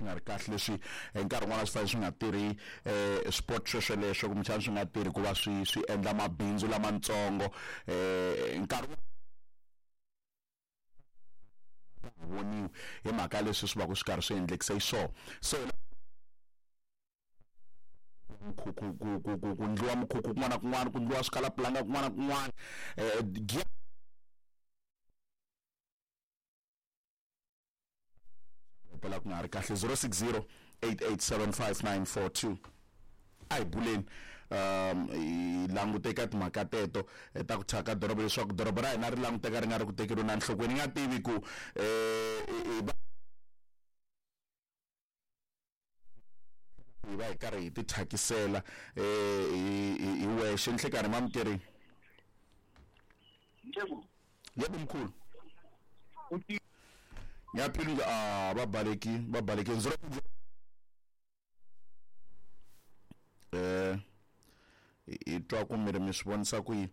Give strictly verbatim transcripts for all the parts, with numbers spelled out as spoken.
Nga ri kahle leswi hi nkarhi wun'wana swi fanele swi nga tirhi eh sport swesweleswo kumbexana swi nga tirhi ku va swi swi endla mabindzu lamatsongo eh nkarhi voniwi hi mhaka leswi swi va ku swi karhi swi endlekise xiswona. So ku ku ku ku ku ndliwa mikhukhu kun'wana na kun'wana, ku ndliwa swikalapulanga kun'wana na kun'wana, eh hetelela ku nga ri kahle. Zero six zero eight eight seven five nine four two. A hi buleni um hi langute eka timhaka teto ta ku thyaka doroba, leswaku doroba ra hina ri languteka ri nga ri ku tekeriweni enhlokweni. Ni nga tivi ku um hi va hi karhi hi ti thyakisela um hi wexe. Nhlekanhi mamukeri. Yebo. Yebo mkhulu. Ngiyaphila. Ah, va baleki va baleki zero eh hi twa ku mi ri mi swi vonisa ku yini.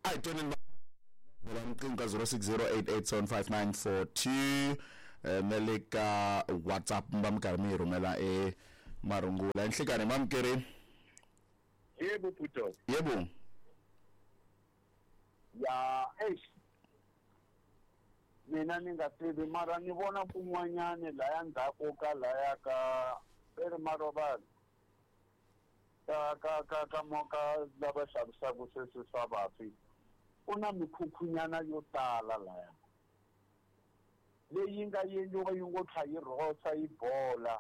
A hi twaneni va riqingho ka zero six zero eight eight seven five nine four two na le ka WhatsApp mi va mi karhi mi hi rhumela e marungula. Nhlekanhi mamukeri. Yebo Puto. Yebo. Ya eish, mina ni nga tivi mara ni vona kun'wanyani laya ndzhaku ka laya ka eri marovani ka ka ka ka moka lava xavisaka sweswi swa vafi, ku na mikhukhunyana yo tala laya leyi nga endliwa yi ngo tlha yi rhosa yi bola.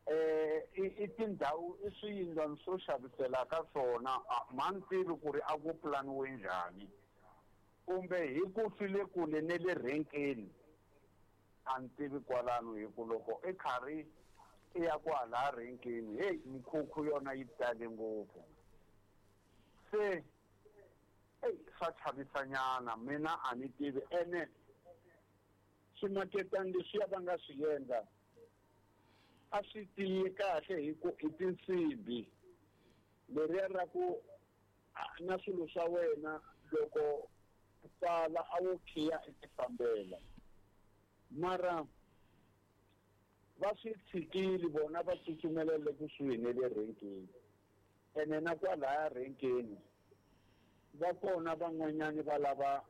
Eh i tindhawu i swiyindlwana swo xavisela ka swona, ma ni tivi ku ri a ku pulaniwe njhani kumbe hi ku swi le kule ne le renkeni, a ni tivi kwalano. Hi ku loko i karhi i ya kwala renkeni, heyi mikhukhu yona yi tale ngopfu, se eyi swa chavisanyana. Mina a ni tivi ene swimaketani leswiya va nga swi endla a swi tiyi kahle hi ku i tinsimbhi leriya ra ku na swilo swa wena loko pfala a wo khiya i ti fambela, mara va swi tshikile vona va tsutsumelele kusuhi ne le renkeni. Ene na kwalaya renkeni va kona van'wanyani va lava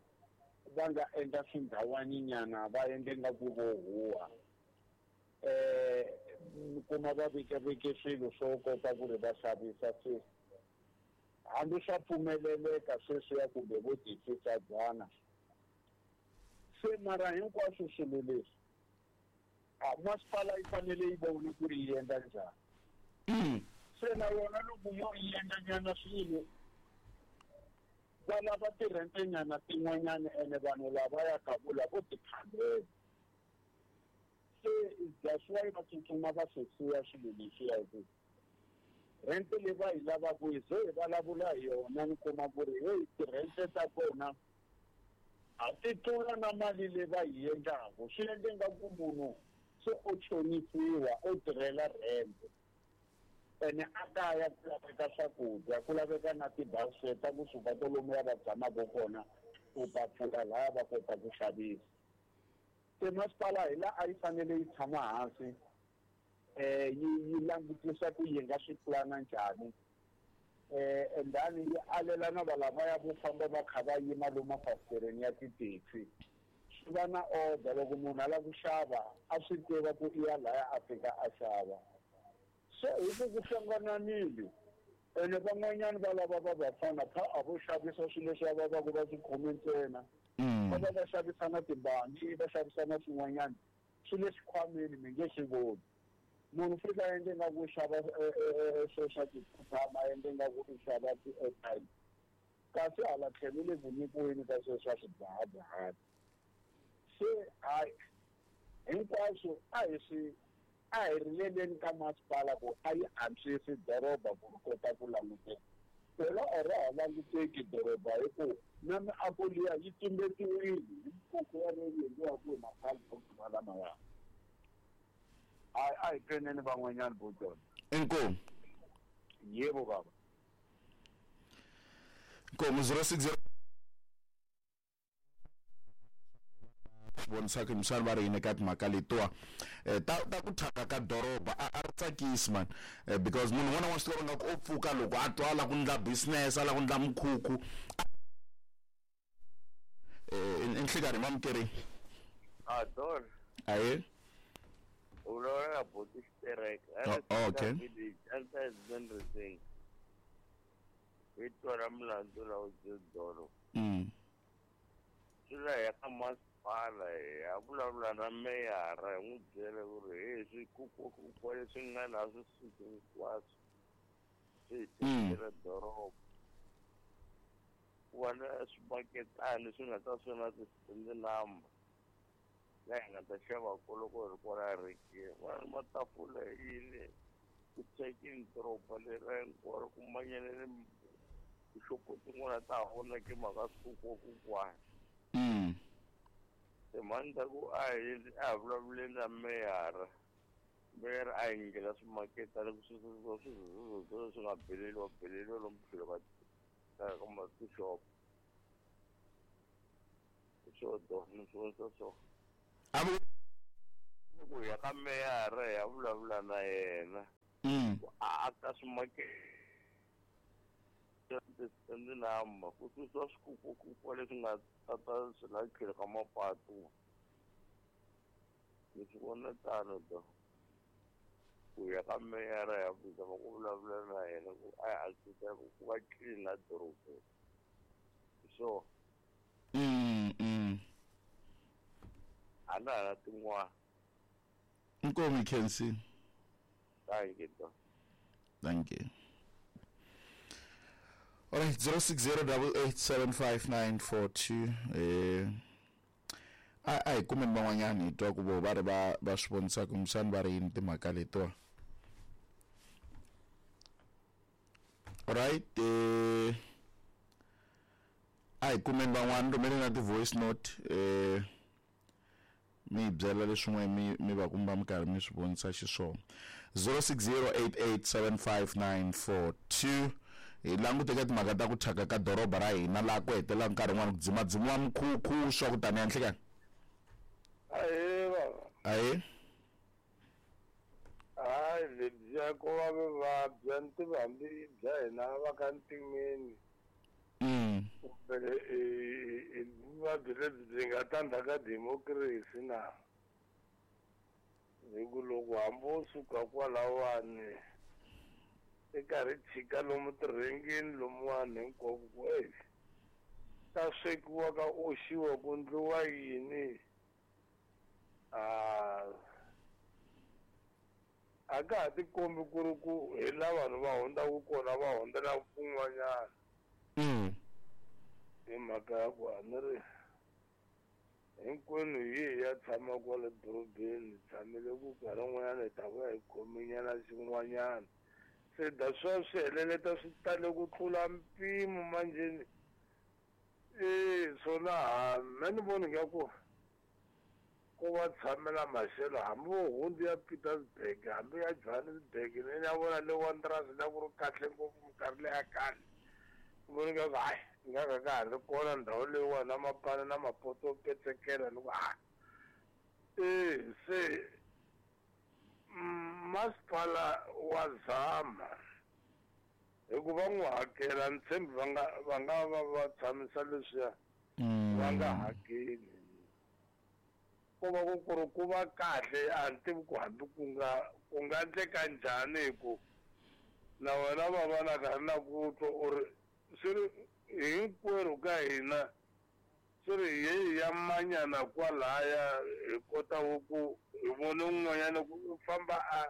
va nga endla swindhawaninyana va endle nga ku vo huwa eh kuma va vekeveke swilo swo kota ku ri va xavisa. Se hambi swa pfumeleleka sweswiya kumbe vo tifisadyana se, mara hinkwaswo swilo leswi a masipala yi fanele yi vone ku ri yi endla njhani. Se na yona loko yo yi endla nyana swilo va lava tirhente nyana tin'wanyana, ene vanhu lava ya ka vula vo tikhandela. Se that's why va tsutsuma va swi siya swilo leswiya, hi ku rente leyi va yi lavaka hi ze hi vulavula hi yona ni kuma ku ri heyi tirhente ta kona a ti tlula na mali leyi va yi endlaku. Swi endle nga ku munhu se o chonisiwa o tirhela rente, ene a kaya ku laveka swakudya, ku laveka na tibase ta kusuka kwalomuya va tshamaka kona ku ta pfula laya va kota ku xavisa. Se masipala hi laha a yi fanele yi tshama hansi eh yi yi langutisa ku yi nga swi pulana njhani, eh and then yi alela na valavaya vo famba va kha va yima lomu mafasitereni ya tithekisi. Swi va na order loko munhu a lava ku xava a swi tiva ku i ya laya a fika a xava. Se hi ku ku hlangananile ene van'wanyani va lava va vafana pha a vo xavisa swilo leswi va va ku va swi khome ntsena, va va va xavisa na timbani, va xavisa na swin'wanyana swi le xikhwameni mi nge swi voni. Munhu fika a endle nga ku xava swo swa ti-cucumber, a endle nga ku i xava ti-airtime, kasi hala tlhelo le ku nyikiweni ka sweswo swa swidzahadzahani. Se hayi hinkwaswo a hi swi a hi rileleni ka masipala ku a yi antswisi doroba ku ri kota ku languteka. Phela a ra ha languteki doroba hi ku na miako liya yi tumbetiwile hi mikhukhu yaleyo yi endliwaka hi ma-cardboard malamaya. Hayi a hi tweneni van'wanyani vo dyondza. Inkomu. Yebo baba. Inkomu zero six zero swi vonisaka misana va ri yini eka timhaka letiwa eh, ta ta ku thyaka ka doroba a a ri tsakisi man eh, because munhu un'wana wa swi tiva nga ku o pfuka loko a twa a lava ku ndla business a lava ku ndla mukhukhu eh i nhlikani mamukerini a don aye u vulavula na boti xitereka Oh, okay. anti hi twala mulandzu lawu doro mm swi la hi ya ka masipala hi ya vulavula na meyara hi n'wi byela ku ri he swikukwakukwa leswi nga na swi suki hinkwaswo swi hi tekela doroba ku va na swibaketani swi nga ta swi na ti-stand number laha hi nga ta xava ko loko hi ri kwala rekeni va ri matafula yini ku thyakini doroba lera hinkwaro ku manyanele tixopo tin'wana ta ha vonaki mhaka swikukwakukwana mm timhani ta ku a hi a hi vulavuleni na meyara meyara a hi nyikela swimaketana ku susiwa swizuzuzuzulu swi nga beleliwa beleliwa lomu tlhelo ka ka ka ma tixopo hi swo dona swi vonisa so a vu ku ya ka meyara hi ya vulavula na yena mm ku a aka swimakete ti-stand number ku susiwa swikukwakukwa leswi nga tata swi la tlhelo ka mapatu ni swi vona tano do ku ya ka meyara ya zama ku vulavula na yena ku a hi antswisa ku va clean la dorobeni hi swona mm mm a na ha na tin'wana inkomu Kensi thank you do thank you. All right, zero six zero double eight seven five nine four two. Eh, a a hi kumeni van'wanyana hi twa ku vo va ri va va swi vonisaka kumbexana va ri yini timhaka letiwa. All right, eh, a hi kumeni van'wana rhumeleni na ti-voice note eh mi hi byela leswin'we mi mi va kumba mi karhi mi swi vonisa xiswona zero six zero eight eight seven five nine four two hi langute ka timhaka ta ku thyaka ka doroba ra hina laha ku hetelelaka nkarhi wun'wani ku dzimadzimiwa mikhukhu swa ku taniya nhlikani Ahee baba ahe hayi lebyiya ko va vuvabyi a ni tivi hambi bya hina va ka ntimeni mm kumbe i- i vuvabyi lebyi byi nga ta ndzhaka democracy na hi ku loko hambi wo suka kwalawani i karhi chika lomu tirhengeni lomuwani hinkwako ku e ka swekiwa ka oxiwa ku ndliwa yini a a ka ha tikombi ku ri ku hi la vanhu va hundzaka kona va hundzela kun'wanyana mm hi mhaka ya ku a ni ri hinkwenu hi hi ya tshama kwale dorobeni hi tshamile ku nkarhi wun'wanyana hi ta vuya hi khomenyana xin'wanyana se da swa swi heleleta swi tale ku tlula mpimo manjheni e swona ha me ni voni nga ku ko va tshamela maxelo hambi vo hundzu ya Pietersburg hambi ya Johannesburg ni ya vona le Wanderers la ku ri kahle ngopfu minkarhi leya khale ni voni nga ku hayi nga ka ka ha ri kona ndhawu leyiwani na mapana na mapoto yo petsekela ni ku ha e se mm, masipala wa zama hikuva n'wi hakela ni tshembi va nga va nga va va tshamisa leswiya va nga hakeli ko va ku ku ri ku va kahle a ni tivi ku hambi ku nga ku nga endleka njhani hi ku na wena va va na karhi na ku twa u ri swi ri hinkwerhu ka hina swi ri hi ya manyana kwalaya hi kotaku ku hi vone un'wanyana ku u famba a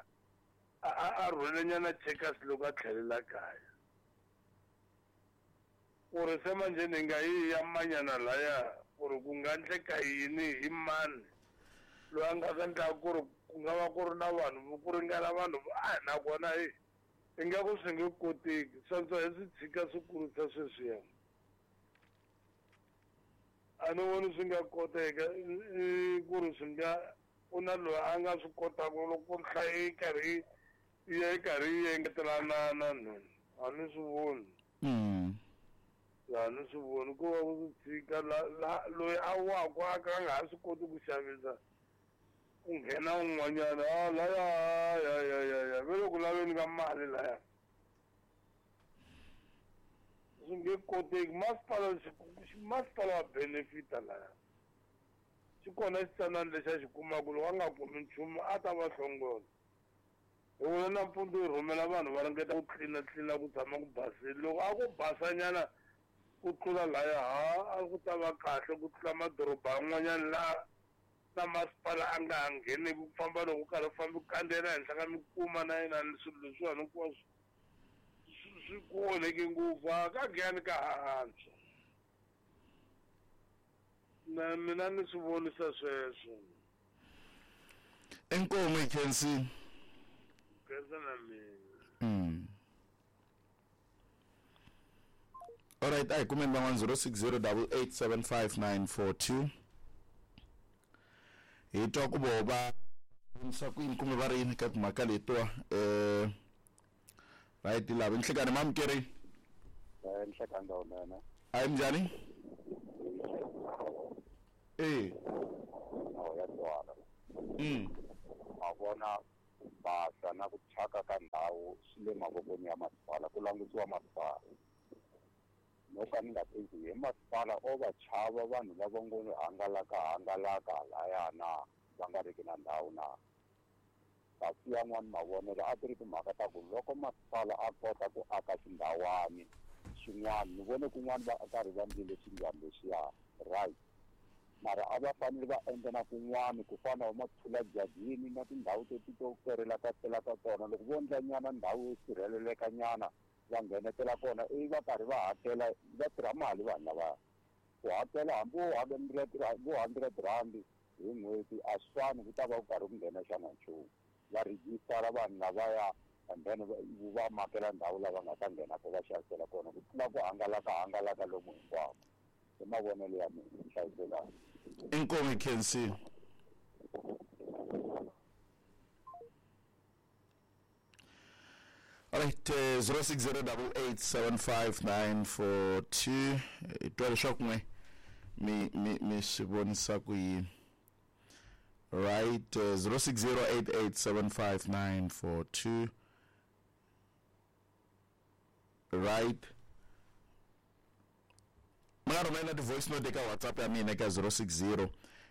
a a- a rhwelenyana checkers loko a tlhelela kaya ku ri se manjheni hi nga yi ya manyana laya ku ri ku nga endleka yini hi mani loyi a nga ta endlaka ku ri ku nga va ku ri na vanhu ku ringana vanhu vo- a nakona hi ingaku swi nge koteki swantswa hi swi tshika swi kurisa sweswiya a ni voni swi nga koteka i ku ri swi nga ku na loyi a nga swi kotaka loko nhlayo yi karhi yi ya yi karhi yi engetelanana no a ni swi voni mm e Ya ni swi voni ku va ku swi tshika la loyi a waku a ka nga ha swi koti ku xavisa ku nghena un'wanyana a laya ya ya ya ya ve le ku laveni ka mali laya swi nge koteki masipala masipala wa benefita laya xi kona xitsanana lexi a xi kumaka loko a nga kumi nchumu a ta va hlongola hi vona nampundzu yi rhumela vanhu va ringeta ku tlilina tlilina ku tshama ku basile loko a ku basanyana ku tlula laya ha a ku ta va kahle ku tlula madoroba yan'wanyana laha na masipala a nga ha ngheneki ku famba loko karhi fambi ku kandziyela henhla ka mikuma na yena swilo leswiwani hinkwaswo swi ku onheke ngopfu a ka giyani ka ha antswa na mina ni swi vonisa sweswo inkomu hi khensile khensa na mina mm. Alright, a hi kumeni van'wana zero six zero double eight seven five nine four two hi twa ku voho va vonisa ku yini kumbe va ri yini ka timhaka letiwa um right lava nhlekani mamukeri nhlekani lowunene a hi minjhani e ya twala mm ma vona ku basa na ku thyaka ka ndhawu swi le mavokweni ya masipala ku langutiwa masipala no ka ni nga tivi hi masipala o va chava vanhu lava ngo hangalaka hangalaka halaya na va nga riki na ndhawu na kasi yan'wani mavonelo a ti ri timhaka ta ku loko masipala a kota ku aka xindhawani xin'wana ni vone kun'wana va karhi va ndlile xindlwana lexiya right mara a va fanele va endla na kun'wana ku fana na mathula jajini na tindhawu teti to kerela ka tela ka tona loko vo endla nyana ndhawu yo sirheleleka nyana va nghenetela kona ivi va karhi va hakela va tirha mali vanhu lavaya ku hakela hambi wo vo hundred rand hi n'hweti a swi fani ku ta va ku karhi ku nghena xana nchumu va rejistara vanhu lavaya and then va makela ndhawu lava nga ta nghena ko va xavisela kona ku tlula ku hangalaka hangalaka lomu hinkwako hi mavonelo ya mina hlayiselani inkomu khensile Alright, uh, zero six zero double eight seven five nine four two hi twa leswaku n'we mi mi mi swi vonisa ku yini right uh, zero six zero eight eight seven five nine four two right mi nga rhumela ti-voice note eka WhatsApp ya mina eka zero six zero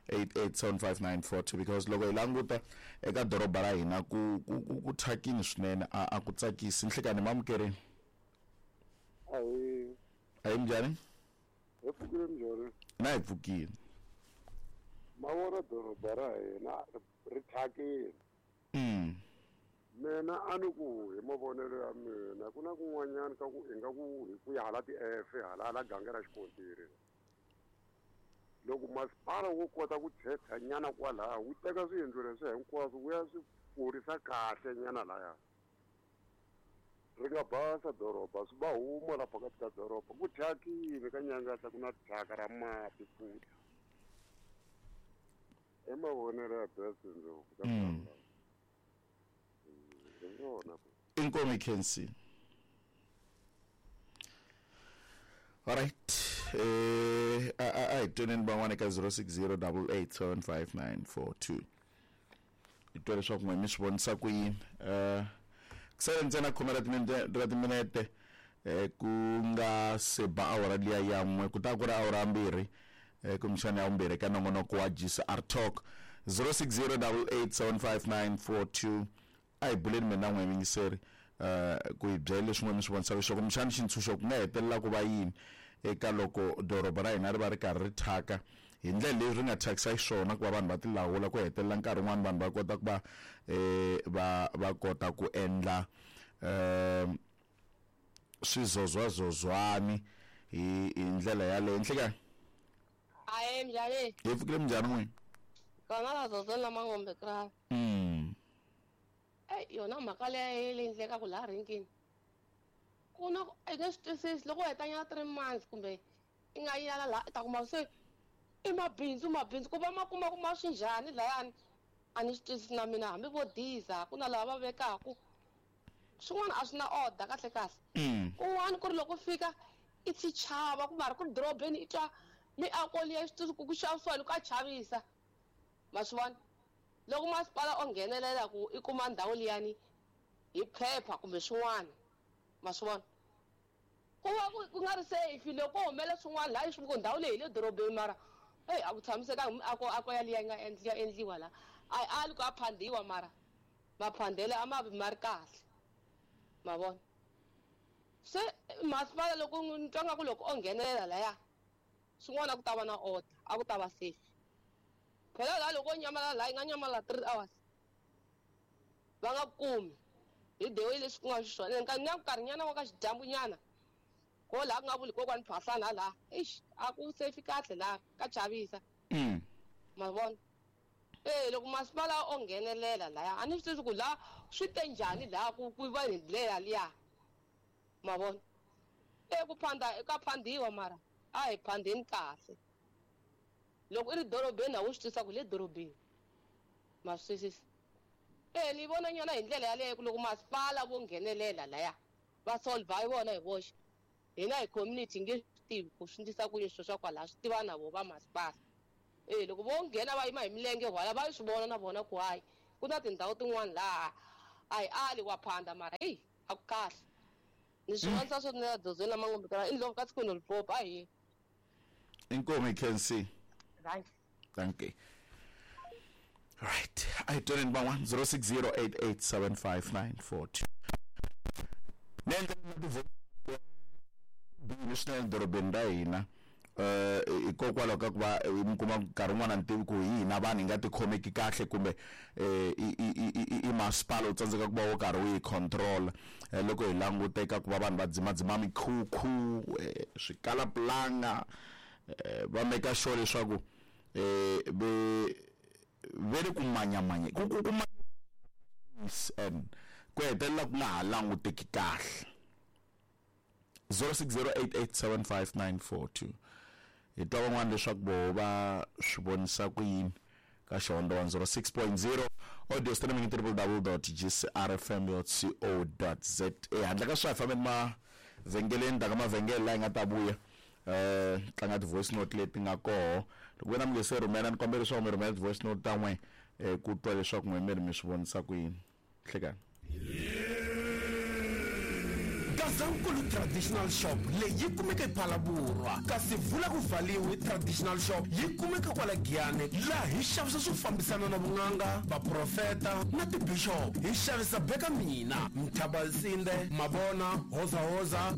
eight eight seven five nine four two because loko hi languta eka doroba ra hina ku ku ku ku thyakini swinene a a ku tsakisi nhlekani mamukerini ahi a hi minjhani hi pfukile minjhani na hi pfukile ma vona doroba ra hina ri thyakile mm mina a ni ku hi mavonelo ya mina ku na kun'wanyana ka ku hi nga ku hi ku ya hala ti-F hala hala ganga ra xikontiri loko masipala wo kota ku thetha nyana kwalaya wu teka swiyindlu leswi hinkwaswo wu ya swi kurisa kahle nyana laya ri nga basa doroba swi va huma la phakathi ka doroba ku thyakile ka nyangatla ku na thyaka ra mati futhi i mavonelo ya best ndlopfu ka hi rona inkomu hi khensile alright eh a a hi tweneni van'wana eka zero six zero double eight seven five nine four two hi twa leswaku n'we mi swi vonisa ku yini um ku sale ntsena khume ra timinete ra timinete eh ku nga se ba awara liya ya n'we ku ta ku ri awara mbirhi eh kumbexana ya vumbirhi ka nongonoko wa G C R Talk zero six zero double eight seven five nine four two a hi buleni mina n'we yingiseri eh ku hi byela leswi n'we mi swi vonisaka xiswona kumbexana xintshunxo ku nga hetelela ku va yini eka loko doroba ra hina ri va ri karhi ri thyaka hi ndlela leyi ri nga thyakisa xiswona ku va vanhu va tilawula ku hetelela nkarhi wun'wani vanhu va kota ku va eh va va kota ku endla um swizozwazozwani hi hi ndlela yaleyo nhlekani Aye njhani hi pfukile minjhani n'wina kona vazozweni lama kra mm eyi yona mhaka leyi leyi endlekaka laha renkeni ku na i nge swi twisisi loko u heta nyana three months kumbe i nga yala laha i ta kuma se i mabindzu mabindzu ku va ma kuma ku ma swi njhani layani a ni swi twisisi na mina hambi vo diza ku na lava va vekaku swin'wana a swi na order kahle kahle mm kun'wana ku ri loko u fika I xichava ku mara ku dorobeni i twa miako liya swi ku ku xavisiwa loko a chavisa. Ma swi vona? Loko masipala o nghenelela ku i kuma ndhawu liyani hi phepha kumbe swin'wana. Ma swi vona? Ku va ku ku nga ri safe loko ko humela swin'wana laha swi ku ndhawu leyi hi le dorobeni mara eyi a ku tshamisekanga miako ako yaliya yi nga endliwa endliwa laha. A yi ali ku a phandiwa mara maphandele a ma vi ma ri kahle. Ma vona? Se masipala loko ni twa nga ku loko o nghenelela laya swin'wana a ku ta va na order, a ku ta va safe. Phela laha loko o nyamalala laha yi nga nyamalala three hours va nga kumi hi the way leswi ku nga xiswona. Ene na nkarhinyana wa ka xidyambunyana ko laha ku nga vuli kokwani Phahlana laha eish a ku safe kahle laha ka chavisa. Mm. Ma vona? Eh loko masipala o nghenelela laya a ni swi tivi ku laha swi te njhani laha ku ku va hi ndlela liya. Ma vona? Eh ku phanda ka phandiwa mara a hi phandeni kahle. Loko i ri dorobeni a wu swi twisisa ku le dorobeni. Ma swi twisisa? Eh ni vona nyana hi ndlela yaleyo ku loko masipala vo nghenelela laya va solve hi vona hi voxe. Hina hi community nge swi tivi ku swi endlisa ku yini swilo swa kwalaho swi tiva na vo va masipala. Eh loko vo nghena va yima hi milenge wala va swi vona na vona ku hayi ku na tindhawu tin'wana laha a hi ali wa phanda mara heyi a ku kahle. Ni swi vonisa swo na dzozweni lama ngombe i ndlopfu ka siku Limpopo a hi. Inkomu Kensi. Right. Thank you. Right. I turn in one zero six zero eight eight seven five nine four two. Swinene dorobeni ra hina eh hikokwalaho ka ku va mi kuma nkarhi wun'wana ni tivi ku hi hina vanhu hi nga tikhomeki kahle kumbe eh i i i masipala wu tsandzeka ku va wo karhi wu yi control loko hi languteka ku va vanhu va dzimadzima mikhukhu swikalapulanga va make sure leswaku eh ve ve ri ku manyamanya ku ku ku and ku hetelela ku nga ha languteki kahle. Zero six zero eight eight seven five nine four two. Hi twa van'wana leswaku voho va swi vonisa ku yini ka Xihondzo one zero six point zero audio streaming triple w dot g c r f m dot co dot z a. Handle ka swi hi fambeni mavhengeleni ta ka mavhengele laha hi nga ta vuya eh tlanga ti-voice note leti nga koho. Loko wena mi nge se rhumela ni kombela leswaku mi rhumela ti-voice note ta n'we ku twa leswaku n'we mi ri mi swi vonisa ku yini. Hlekani. Gazankulu Traditional Shop leyi yi kumeka ePhalaborwa, kasi vula ku vhaliwe Traditional Shop yi kumeka kwala Giyani, laha hi xavisa swo fambisana na vun'anga, vaprofeta na tibishop. Hi xavisa beka mina, Mthabansinde, Mabona, Hozahoza,